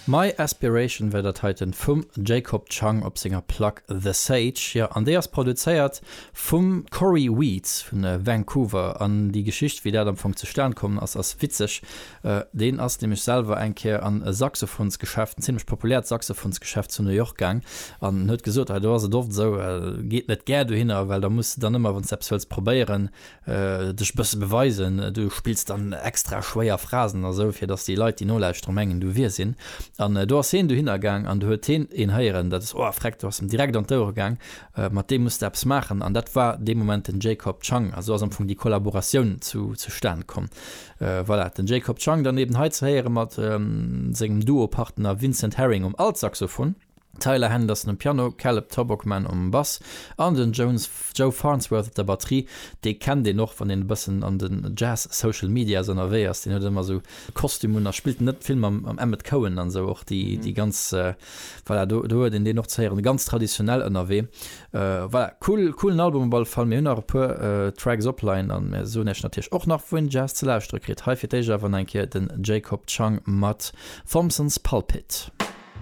My Aspiration war dat heiten vum Jacob Chang op senger Plack The Sage. Jo, an déi ass produzéiert vum Cory Weeds vun Vancouver. An déi Geschicht, wéi dat am Fong zustan komm ass, ass witzeg. Deen ass nämlech selwer eng Kéier an e Saxophonsgeschäft, en zimlech populäert Saxophonsgeschäft zu New York gaang an huet gesot, hei do ass et oft esou, geet net gär dohinner, well da muss de dann ëmmer, wann s de eppes wëlls probéieren, dech e bësse beweisen, du spills dann extra schwéier Phrasen a sou, fir dass déi Leit, déi nolauschteren, mengen, du wiers een. An do ass hien dohinner gaang an do huet hien een héieren, dat ass, oh freck, do ass em direkt an d'Ouere gaang, mat deem muss de eppes maachen. An dat war dee Moment den Jacob Chang. A sou ass am Fong déi Kollaboratioun zu zustan komm. Voilà, den Jacob Chang dann eben hei ze héiere mat sengem Duo-Partner Vincent Herring um Altsaxophon. Tyler Henderson um Piano, Caleb Tobocman um Bass an den Jones Joe Farnsworth op der Batterie. Dee kennt een och, wann een e bëssen an den Jazz Social Medias ënnerwee ass. Deen huet ëmmer esou Kostüm un a spillt net vill mam Emmet Cohen an esou och déi déi ganz voilà, do do huet een deen och ze héieren. Ganz traditionell ënnerwee. Voilà, cool coolen Album op alle Fall. Mir hunn nach e puer Tracks opleien an mir soen iech natierlech och nach wou een Jazz ze lauschtere kritt. Hei fir d'éischt awer nach eng Kéier den Jacob Chang mat Thompson's Pulpit.